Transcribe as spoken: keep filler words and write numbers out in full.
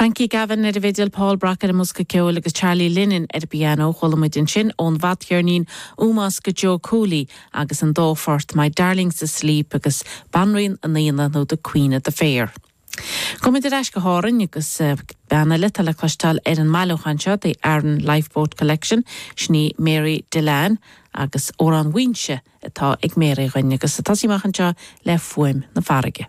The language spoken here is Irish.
Frankie Gavin ar an bhfidil Paul Brock ar an mbosca ceoil agus Charlie Lennon ar piano chuala muid ansin ón bhfadcheirnín Ómós do Joe Cooley agus an dá phort My Darling's Asleep agus Banríon an Aonaigh nó the Queen of the Fair. Gabhfaimid ar ais go hÁrainn agus uh, bean eile le cloisteáil ar an mbailiúchán seo the Aran Lifeboat Collection sin í Mary Dillane agus amhrán Mhaínse atá ag Mary dúinn agus tá sí amach anseo le fuaim na farraige.